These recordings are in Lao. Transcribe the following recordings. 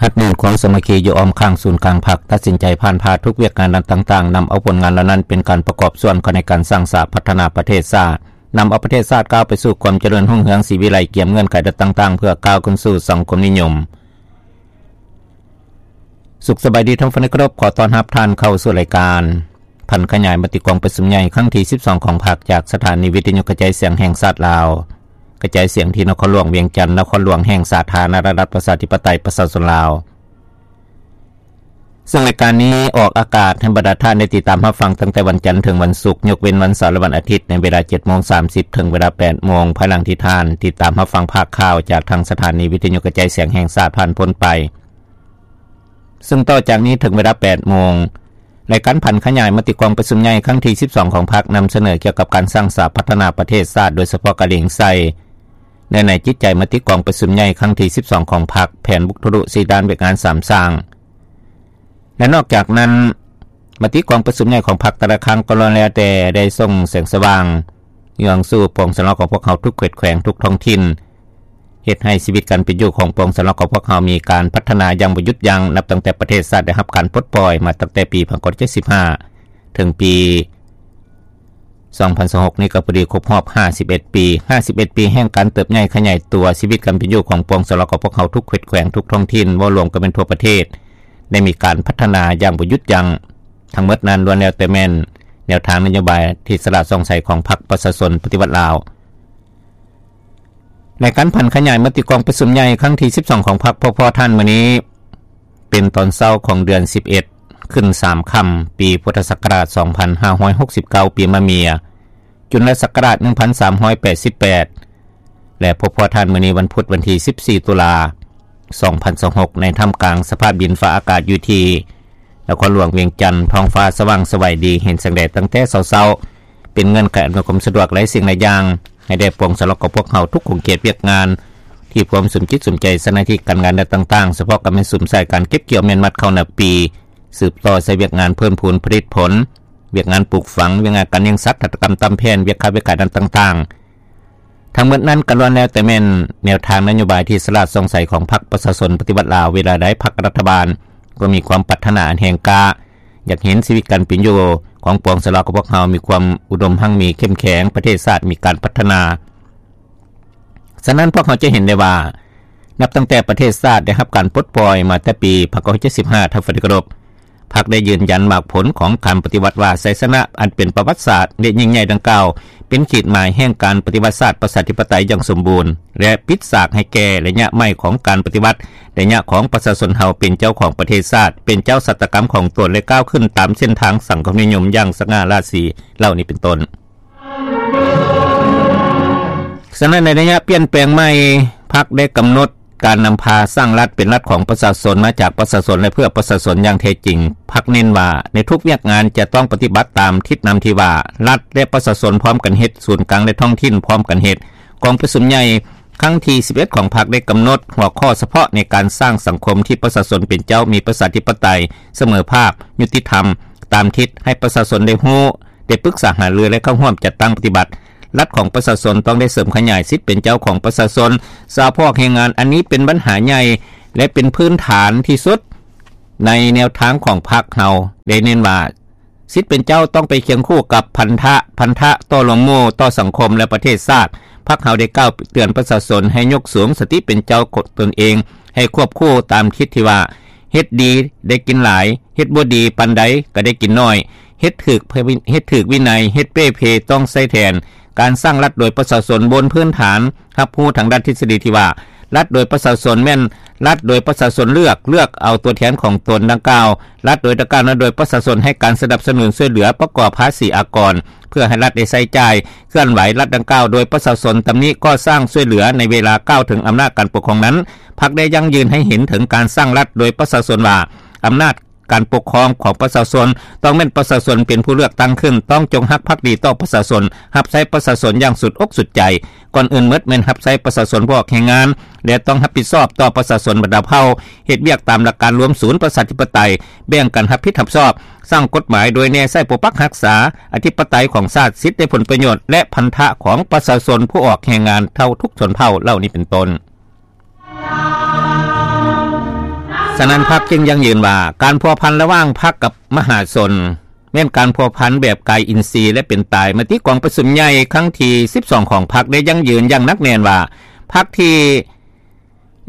ອັດແໜ້ນຄວາມສາມັກຄີຢູ່ອ້ອມຂ້າງສູນກາງພັກ ຕັດສິນໃຈຜ່ານຜ່າທຸກວຽກງານດ້ານຕ່າງໆ ນຳເອົາຜົນງານເຫຼົ່ານັ້ນເປັນການປະກອບສ່ວນເຂົ້າໃນການສ້າງສາພັດທະນາປະເທດຊາດ, ນຳເອົາປະເທດຊາດກ້າວໄປສູ່ຄວາມຈະເລີນຮຸ່ງເຮືອງສີວິໄລ ກຽມເງື່ອນໄຂດ້ານຕ່າງໆ ເພື່ອກ້າວຂຶ້ນສູ່ສັງຄົມນິຍົມ. ສຸກສະບາຍດີທ່ານຜູ້ຟັງທີ່ເຄົາລົບ, ຂໍຕ້ອນຮັບທ່ານເຂົ້າສູ່ລາຍການຜັນຂະຫຍາຍມະຕິກອງປະຊຸມໃຫຍ່ຄັ້ງທີສິບສອງຂອງພັກ ຈາກສະຖານີວິທະຍຸກະຈາຍສຽງແຫ່ງຊາດລາວ, ກະຈາຍສຽງທີ່ນະຄອນຫຼວງວຽງຈັນ, ນະຄອນຫຼວງແຫ່ງສາທາລະນະລັດປະຊາທິປະໄຕປະຊາຊົນລາວ. ເຊິ່ງລາຍການນີ້ອອກອາກາດໃຫ້ບັນດາທ່ານໄດ້ຕິດຕາມຮັບຟັງຕັ້ງແຕ່ວັນຈັນເຖິງວັນສຸກ, ຍົກເວັ້ນວັນເສົາ ແລະ ວັນອາທິດ ໃນເວລາເຈັດໂມງສາມສິບ ເຖິງເວລາແປດໂມງ, ພາຍຫຼັງທີ່ທ່ານຕິດຕາມຮັບຟັງພາກຂ່າວຈາກທາງສະຖານີວິທະຍຸກະຈາຍສຽງແຫ່ງຊາດຜ່ານພົ້ນໄປ. ເຊິ່ງຕໍ່ຈາກນີ້ເຖິງເວລາແປດໂມງ, ລາຍການຜັນຂະຫຍາຍມະຕິກອງປະຊຸມໃຫຍ່ຄັ້ງທີສິບສອງຂອງພັກ ນຳສະເໜີກ່ຽວກັບການສ້າງສາພັດທະນາປະເທດຊາດ, ໂດຍສະເພາະກະເລັງໃສ່ເນື້ອໃນຈິດໃຈມະຕິກອງປະຊຸມໃຫຍ່ຄັ້ງທີສິບສອງຂອງພັກ, ແຜນບຸກທະລຸສີ່ດ້ານວຽກງານສາມສ້າງ ແລະ ນອກຈາກນັ້ນ, ມະຕິກອງປະຊຸມໃຫຍ່ຂອງພັກແຕ່ລະຄັ້ງກໍລ້ວນແລ້ວແຕ່ໄດ້ສົ່ງແສງສະຫວ່າງ ເຫືອງສູ່ປວງຊະລາວຂອງພວກເຮົາທຸກເຂດແຂວງ, ທຸກທ້ອງຖິ່ນ, ເຮັດໃຫ້ຊີວິດການເປັນຢູ່ຂອງປວງຊະລາວຂອງພວກເຮົາມີການພັດທະນາຢ່າງບໍ່ຢຸດຢັ້ງ, ນັບຕັ້ງແຕ່ປະເທດຊາດໄດ້ຮັບການປົດປ່ອຍມາຕັ້ງແຕ່ປີພັນເກົ້າຮ້ອຍເຈັດສິບຫ້າ ເຖິງປີສອງພັນຊາວຫົກນີ້ກໍພໍດີຄົບຮອບຫ້າສິບເອັດປີ. ຫ້າສິບເອັດປີແຫ່ງການເຕີບໃຫຍ່ຂະຫຍາຍຕົວ, ຊີວິດການເປັນຢູ່ຂອງປວງຊະລາວຂອງພວກເຮົາທຸກເຂດແຂວງ, ທຸກທ້ອງຖິ່ນ, ເວົ້າລວມກໍແມ່ນທົ່ວປະເທດ, ໄດ້ມີການພັດທະນາຢ່າງບໍ່ຢຸດຢັ້ງ. ທັງໝົດນັ້ນລ້ວນແລ້ວແຕ່ແມ່ນແນວທາງນະໂຍບາຍທີ່ສະຫຼາດສ່ອງໃສຂອງພັກປະຊາຊົນປະຕິວັດລາວ. ໃນການຜັນຂະຫຍາຍມະຕິກອງປະຊຸມໃຫຍ່ຄັ້ງທີສິບສອງຂອງພັກ ພວກພໍ່ທ່ານມື້ນີ້ ເປັນຕອນເຊົ້າຂອງເດືອນສິບເອັດ ຂຶ້ນສາມຄ່ຳ ປີພຸດທະສັກກະລາດສອງພັນຫ້າຮ້ອຍຫົກສິບເກົ້າ ປີມະເມຍ, ຈຸນລະສັກກະລາດໜຶ່ງພັນສາມຮ້ອຍແປດສິບແປດ ແລະ ພົບພໍ້ທ່ານມື້ໃນວັນພຸດ ວັນທີສິບສີ່ ຕຸລາ ສອງພັນຊາວຫົກ ໃນທ່າມກາງສະພາບດິນຟ້າອາກາດຢູ່ທີ່ນະຄອນຫຼວງວຽງຈັນ, ທ້ອງຟ້າສະຫວ່າງສະໄຫວດີ, ເຫັນແສງແດດຕັ້ງແຕ່ເຊົ້າໆ, ເປັນເງື່ອນໄຂອຳນວຍຄວາມສະດວກຫຼາຍສິ່ງຫຼາຍຢ່າງໃຫ້ແດ່ປວງຊາວລາວຂອງພວກເຮົາທຸກຂົງເຂດວຽກງານ ທີ່ພວມສຸມຈິດສຸມໃຈໃສ່ໜ້າທີ່ການງານແນວຕ່າງໆ, ສະເພາະກໍແມ່ນສຸມໃສ່ການເກັບກ່ຽວແມ່ນມັດເຂົ້ານາປີ, ສືບຕໍ່ໃສ່ວຽກງານເພີ່ມພູນຜະລິດຜົນ, ວຽກງານປູກຝັງ, ວຽກງານການລ້ຽງສັດ, ຫັດຖະກຳຕາມແຜນ, ວຽກຄ້າວຽກຂາຍດ້ານຕ່າງໆ. ທັງໝົດນັ້ນກໍລ້ວນແລ້ວແຕ່ແມ່ນແນວທາງນະໂຍບາຍທີ່ສະຫຼາດສ່ອງໃສຂອງພັກປະຊາຊົນປະຕິວັດລາວ. ເວລາໃດພັກລັດຖະບານກໍມີຄວາມປາດຖະໜາອັນແຮງກ້າ, ຢາກເຫັນຊີວິດການເປັນຢູ່ຂອງປວງຊາວລາວຂອງພວກເຮົາມີຄວາມອຸດົມຮັ່ງມີເຂັ້ມແຂງ, ປະເທດຊາດມີການພັດທະນາ. ສະນັ້ນພວກເຮົາຈະເຫັນໄດ້ວ່າ ນັບຕັ້ງແຕ່ປະເທດຊາດໄດ້ຮັບການປົດປ່ອຍມາແຕ່ປີພັນເກົ້າຮ້ອຍເຈັດສິບຫ້າ ທ່ານຜູ້ທີ່ເຄົາລົບ, ພັກໄດ້ຢືນຢັນໝາກຜົນຂອງການປະຕິວັດວ່າ ໄຊຊະນະອັນເປັນປະຫວັດສາດ ແລະ ຍິ່ງໃຫຍ່ດັ່ງກ່າວ ເປັນຂີດໝາຍແຫ່ງການປະຕິວັດຊາດປະຊາທິປະໄຕຢ່າງສົມບູນ ແລະ ປິດສາກໃຫ້ແກ່ໄລຍະໃໝ່ຂອງການປະຕິວັດ, ໄລຍະຂອງປະຊາຊົນເຮົາເປັນເຈົ້າຂອງປະເທດຊາດ, ເປັນເຈົ້າຊະຕາກຳຂອງຕົນ ແລະ ກ້າວຂຶ້ນຕາມເສັ້ນທາງສັງຄົມນິຍົມຢ່າງສະຫງ່າລາສີ ເຫຼົ່ານີ້ເປັນຕົ້ນ. ສະນັ້ນ ໃນໄລຍະປ່ຽນແປງໃໝ່, ພັກໄດ້ກຳນົດການນຳພາສ້າງລັດເປັນລັດຂອງປະຊາຊົນ, ມາຈາກປະຊາຊົນ ແລະ ເພື່ອປະຊາຊົນຢ່າງແທ້ຈິງ. ພັກເນັ້ນວ່າ ໃນທຸກວຽກງານຈະຕ້ອງປະຕິບັດຕາມທິດນຳທີ່ວ່າ ລັດ ແລະ ປະຊາຊົນພ້ອມກັນເຮັດ, ສູນກາງ ແລະ ທ້ອງຖິ່ນພ້ອມກັນເຮັດ. ກອງປະຊຸມໃຫຍ່ຄັ້ງທີສິບເອັດຂອງພັກໄດ້ກຳນົດຫົວຂໍ້ສະເພາະໃນການສ້າງສັງຄົມທີ່ປະຊາຊົນເປັນເຈົ້າ, ມີປະຊາທິປະໄຕ, ສະເໝີພາບ, ຍຸຕິທຳ, ຕາມທິດໃຫ້ປະຊາຊົນໄດ້ຮູ້, ໄດ້ປຶກສາຫາລື ແລະ ເຂົ້າຮ່ວມຈັດຕັ້ງປະຕິບັດ. ລັດຂອງປະຊາຊົນຕ້ອງໄດ້ເສີມຂະຫຍາຍສິດເປັນເຈົ້າຂອງປະຊາຊົນ, ສະເພາະແຮງງານ. ອັນນີ້ເປັນບັນຫາໃຫຍ່ ແລະ ເປັນພື້ນຖານທີ່ສຸດໃນແນວທາງຂອງພັກເຮົາ. ໄດ້ເນັ້ນວ່າ ສິດເປັນເຈົ້າຕ້ອງໄປຄຽງຄູ່ກັບພັນທະ, ພັນທະຕໍ່ລວມໝູ່, ຕໍ່ສັງຄົມ ແລະ ປະເທດຊາດ. ພັກເຮົາໄດ້ກ່າວເຕືອນປະຊາຊົນໃຫ້ຍົກສູງສະຕິເປັນເຈົ້າຕົນເອງ, ໃຫ້ຄວບຄູ່ຕາມທິດທີ່ວ່າ ເຮັດດີໄດ້ກິນຫຼາຍ, ເຮັດບໍ່ດີປານໃດກໍໄດ້ກິນໜ້ອຍ, ເຮັດຖືກ, ເຮັດຖືກວິໄນ, ເຮັດເປ່ເພຕ້ອງໃຊ້ແທນ. ການສ້າງລັດໂດຍປະຊາຊົນບົນພື້ນຖານຮັບຮູ້ທາງດ້ານທິດສະດີທີ່ວ່າ ລັດໂດຍປະຊາຊົນແມ່ນລັດໂດຍປະຊາຊົນເລືອກ, ເລືອກເອົາຕົວແທນຂອງຕົນດັ່ງກ່າວ. ລັດໂດຍດັ່ງກ່າວນັ້ນໂດຍປະຊາຊົນໃຫ້ການສະໜັບສະໜູນຊ່ວຍເຫຼືອ, ປະກອບພາສີອາກອນ ເພື່ອໃຫ້ລັດໄດ້ໃຊ້ຈ່າຍ. ເຄື່ອນໄຫວລັດດັ່ງກ່າວໂດຍປະຊາຊົນ, ຕຳໜິກໍ່ສ້າງ, ຊ່ວຍເຫຼືອ. ໃນເວລາກ່າວເຖິງອຳນາດການປົກຄອງນັ້ນ, ພັກໄດ້ຢັ້ງຢືນໃຫ້ເຫັນເຖິງການສ້າງລັດໂດຍປະຊາຊົນວ່າ ອຳນາດ ການປົກຄອງຂອງປະຊາຊົນ ຕ້ອງແມ່ນປະຊາຊົນເປັນຜູ້ເລືອກຕັ້ງຂຶ້ນ, ຕ້ອງຈົງຮັກພັກດີຕໍ່ປະຊາຊົນ, ຮັບໃຊ້ປະຊາຊົນຢ່າງສຸດອົກສຸດໃຈ. ກ່ອນອື່ນໝົດແມ່ນຮັບໃຊ້ປະຊາຊົນຜູ້ອອກແຮງງານ ແລະ ຕ້ອງຮັບຜິດຊອບຕໍ່ປະຊາຊົນບັນດາເຜົ່າ, ເຮັດວຽກຕາມຫຼັກການລວມສູນປະຊາທິປະໄຕ, ແບ່ງກັນຮັບຜິດຮັບຊອບ, ສ້າງກົດໝາຍໂດຍແນໃສ່ປົກປັກຮັກສາອະທິປະໄຕຂອງຊາດ, ສິດ ແລະ ຜົນປະໂຫຍດ ແລະ ພັນທະຂອງປະຊາຊົນຜູ້ອອກແຮງງານເຜົ່າທຸກຊົນເຜົ່າເຫຼົ່ານີ້ເປັນຕົ້ນ. ສ ສະນັ້ນ ພັກຈຶ່ງຢັ້ງຢືນວ່າ ການພົວພັນລະຫວ່າງພັກກັບມະຫາຊົນ ແມ່ນການພົວພັນແບບກາຍອິນຊີ ແລະ ເປັນຕາຍ. ມະຕິກອງປະຊຸມໃຫຍ່ຄັ້ງທີສິບສອງຂອງພັກ ໄດ້ຢັ້ງຢືນຢ່າງໜັກແໜ້ນວ່າ ພັກທີ່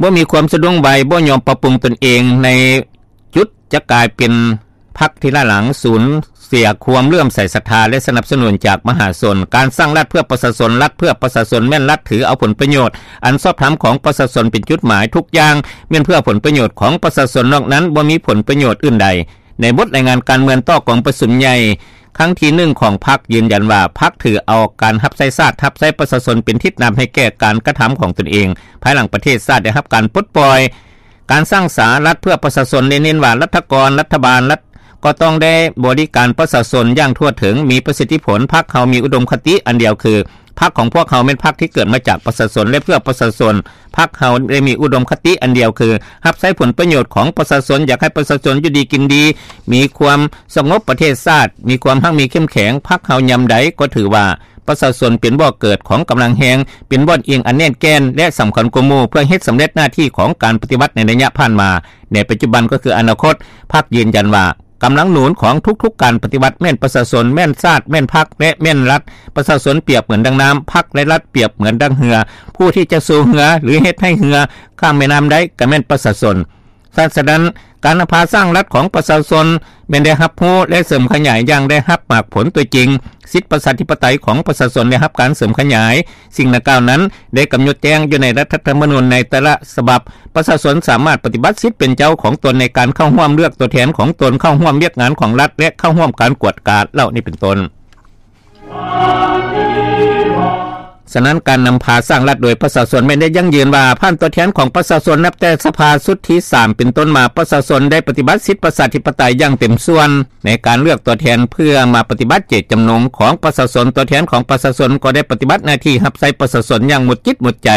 ບໍ່ມີຄວາມສະດວກໄວ ບໍ່ຍອມປັບປຸງຕົນເອງ ໃນຈຸດຈະກາຍເປັນພັກທີ່ລ້າຫຼັງ ສູນເສຍຄວາມເຫຼື້ອມໃສສັດທາ ແລະ ສະໜັບສະໜູນຈາກມະຫາຊົນ. ການສ້າງລັດເພື່ອປະຊາຊົນ, ລັດເພື່ອປະຊາຊົນ ແມ່ນລັດຖືເອົາຜົນປະໂຫຍດອັນຊອບທຳຂອງປະຊາຊົນເປັນຈຸດໝາຍ, ທຸກຢ່າງແມ່ນເພື່ອຜົນປະໂຫຍດຂອງປະຊາຊົນ, ນອກນັ້ນບໍ່ມີຜົນປະໂຫຍດອື່ນໃດ. ໃນບົດລາຍງານການເມືອງຕໍ່ກອງປະຊຸມໃຫຍ່ຄັ້ງທີໜຶ່ງຂອງພັກ ຢືນຢັນວ່າ ພັກຖືເອົາການຮັບໃຊ້ຊາດ, ຮັບໃຊ້ປະຊາຊົນເປັນທິດນຳໃຫ້ແກ່ການກະທຳຂອງຕົນເອງ ພາຍຫຼັງປະເທດຊາດໄດ້ຮັບການປົດປ່ອຍ. ການສ້າງສາລັດເພື່ອປະຊາຊົນ ໄດ້ເນັ້ນວ່າ ລັດຖະກອນ, ລັດຖະບານ, ລັດ ກໍຕ້ອງໄດ້ບໍລິການປະຊາຊົນຢ່າງທົ່ວເຖິງ, ມີປະສິດທິຜົນ. ພັກເຮົາມີອຸດົມຄະຕິອັນດຽວຄື ພັກຂອງພວກເຮົາແມ່ນພັກທີ່ເກີດມາຈາກປະຊາຊົນ ແລະ ເພື່ອປະຊາຊົນ. ພັກເຮົາໄດ້ມີອຸດົມຄະຕິອັນດຽວຄື ຮັບໃຊ້ຜົນປະໂຫຍດຂອງປະຊາຊົນ, ຢາກໃຫ້ປະຊາຊົນຢູ່ດີກິນດີ, ມີຄວາມສະຫງົບປະເທດຊາດ, ມີຄວາມຮັ່ງມີເຂັ້ມແຂງ. ພັກເຮົາຍາມໃດກໍຖືວ່າ ປະຊາຊົນເປັນບໍ່ເກີດຂອງກຳລັງແຮງ, ເປັນບ່ອນອີງອັນແໜ້ນແກ່ນ ແລະ ສຳຄັນກວ່າໝູ່ ເພື່ອເຮັດສຳເລັດໜ້າທີ່ຂອງການປະຕິວັດໃນໄລຍະຜ່ານມາ. ໃນປັດຈຸບັນກໍຄືອະນາຄົດ, ພັກຢືນຢັນວ່າ ກຳລັງໜູນຂອງທຸກໆການປະຕິວັດແມ່ນປະຊາຊົນ, ແມ່ນຊາດ, ແມ່ນພັກ ແລະ ແມ່ນລັດ. ປະຊາຊົນປຽບເໝືອນດັ່ງນ້ຳ, ພັກ ແລະ ລັດປຽບເໝືອນດັ່ງເຮືອ. ຜູ້ທີ່ຈະສູ້ເຮືອ ຫຼື ເຮັດໃຫ້ເຮືອຂ້າມແມ່ນ້ຳໄດ້ ກໍແມ່ນປະຊາຊົນ. ສະນັ້ນ ການນຳພາສ້າງລັດຂອງປະຊາຊົນແມ່ນໄດ້ຮັບຮູ້ ແລະ ເສີມຂະຫຍາຍຢ່າງໄດ້ຮັບໝາກຜົນຕົວຈິງ. ສິດປະຊາທິປະໄຕຂອງປະຊາຊົນໄດ້ຮັບການເສີມຂະຫຍາຍ. ສິ່ງດັ່ງກ່າວນັ້ນໄດ້ກຳນົດແຈ້ງຢູ່ໃນລັດຖະທຳມະນູນໃນແຕ່ລະສະບັບ. ປະຊາຊົນສາມາດປະຕິບັດສິດເປັນເຈົ້າຂອງຕົນໃນການເຂົ້າຮ່ວມເລືອກຕົວແທນຂອງຕົນ, ເຂົ້າຮ່ວມວຽກງານຂອງລັດ ແລະ ເຂົ້າຮ່ວມການກວດກາເຫຼົ່ານີ້ເປັນຕົ້ນ. ສະນັ້ນ ການນຳພາສ້າງລັດໂດຍປະຊາຊົນແມ່ນໄດ້ຢັ້ງຢືນວ່າ ຜ່ານຕົວແທນຂອງປະຊາຊົນ ນັບແຕ່ສະພາຊຸດທີສາມເປັນຕົ້ນມາ, ປະຊາຊົນໄດ້ປະຕິບັດສິດປະຊາທິປະໄຕຢ່າງເຕັມສ່ວນໃນການເລືອກຕົວແທນເພື່ອມາປະຕິບັດເຈດຈຳນົງຂອງປະຊາຊົນ. ຕົວແທນຂອງປະຊາຊົນກໍໄດ້ປະຕິບັດໜ້າທີ່ຮັບໃຊ້ປະຊາຊົນຢ່າງໝົດຈິດໝົດໃຈ.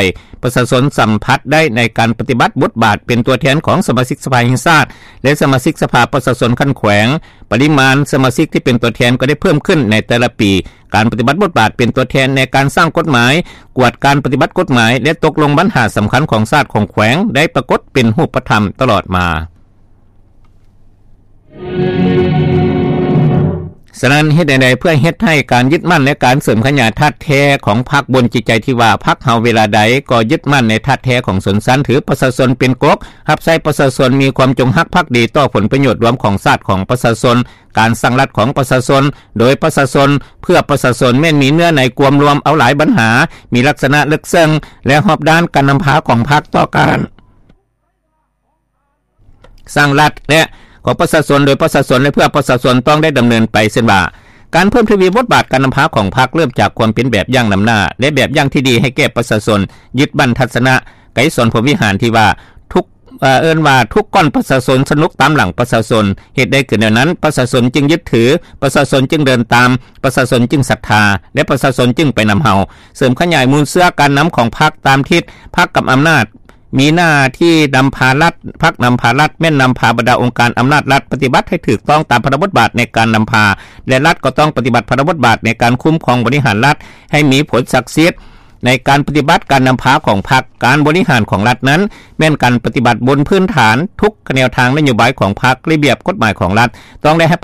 ປະຊາຊົນສຳຜັດໄດ້ໃນການປະຕິບັດບົດບາດເປັນຕົວແທນຂອງສະມາຊິກສະພາແຫ່ງຊາດ ແລະ ສະມາຊິກສະພາປະຊາຊົນຂັ້ນແຂວງ. ປະລິມານສະມາຊິກທີ່ເປັນຕົວແທນກໍໄດ້ເພີ່ມຂຶ້ນໃນແຕ່ລະປີ. ການປະຕິບັດບົດບາດເປັນຕົວແທນໃນການສ້າງກົດໝາຍ, ກວດການປະຕິບັດກົດໝາຍ ແລະ ຕົກລົງບັນຫາສຳຄັນຂອງຊາດຂອງແຂວງ ໄດ້ປາກົດເປັນຮູບປະທຳຕະຫຼອດມາ. ສະນັ້ນ ເຮັດແນວໃດເພື່ອເຮັດໃຫ້ການຍຶດໝັ້ນ ແລະ ການເສີມຂະຫຍາຍທາດແທ້ຂອງພັກບົນຈິດໃຈທີ່ວ່າ ພັກເຮົາເວລາໃດກໍຍຶດໝັ້ນໃນທາດແທ້ຂອງຊົນຊັ້ນ, ຖືປະຊາຊົນເປັນກົກ, ຮັບໃຊ້ປະຊາຊົນ, ມີຄວາມຈົງຮັກພັກດີຕໍ່ຜົນປະໂຫຍດລວມຂອງຊາດຂອງປະຊາຊົນ, ການສ້າງລັດຂອງປະຊາຊົນ ໂດຍປະຊາຊົນ ເພື່ອປະຊາຊົນ ແມ່ນມີເນື້ອໃນກວມລວມເອົາຫຼາຍບັນຫາ, ມີລັກສະນະເລິກເຊິ່ງ ແລະ ຮອບດ້ານ. ການນຳພາຂອງພັກຕໍ່ການສ້າງລັດ ແລະ ຂອງປະຊາຊົນ ໂດຍປະຊາຊົນ ແລະ ເພື່ອປະຊາຊົນ ຕ້ອງໄດ້ດຳເນີນໄປ ເຊັ່ນວ່າ ການເພີ່ມທະວີບົດບາດການນຳພາຂອງພັກ ເລີ່ມຈາກຄວາມເປັນແບບຢ່າງນຳໜ້າ ແລະ ແບບຢ່າງທີ່ດີໃຫ້ແກ່ປະຊາຊົນ, ຍຶດໝັ້ນທັດສະນະໄກສອນພົມວິຫານທີ່ວ່າ ທຸກ ເອີ້ນວ່າ ທຸກກ້ອນປະຊາຊົນສະໜຸກຕາມຫຼັງປະຊາຊົນ. ເຮັດໄດ້ຄືແນວນັ້ນ ປະຊາຊົນຈຶ່ງຍຶດຖື, ປະຊາຊົນຈຶ່ງເດີນຕາມ, ປະຊາຊົນຈຶ່ງສັດທາ ແລະ ປະຊາຊົນຈຶ່ງໄປນຳເຮົາ. ເສີມຂະຫຍາຍມູນເຊື້ອການນຳຂອງພັກຕາມທິດ, ພັກກັບອຳນາດ ມີໜ້າທີ່ນຳພາລັດ, ພັກນຳພາລັດ ແມ່ນນຳພາບັນດາອົງການອຳນາດລັດປະຕິບັດໃຫ້ຖືກຕ້ອງຕາມພາລະບົດບາດໃນການນຳພາ ແລະ ລັດກໍຕ້ອງປະຕິບັດພາລະບົດບາດໃນການຄຸ້ມຄອງບໍລິຫານລັດໃຫ້ມີຜົນສັກສິດ. ໃນການປະຕິບັດການນຳພາຂອງພັກ, ການບໍລິຫານຂອງລັດນັ້ນ ແມ່ນການປະຕິບັດບົນພື້ນຖານທຸກແນວທາງນະໂຍບາຍຂອງພັກ, ລະບຽບກົດໝາຍຂອງລັດ ຕ້ອງໄດ້ໃຫ້ປະ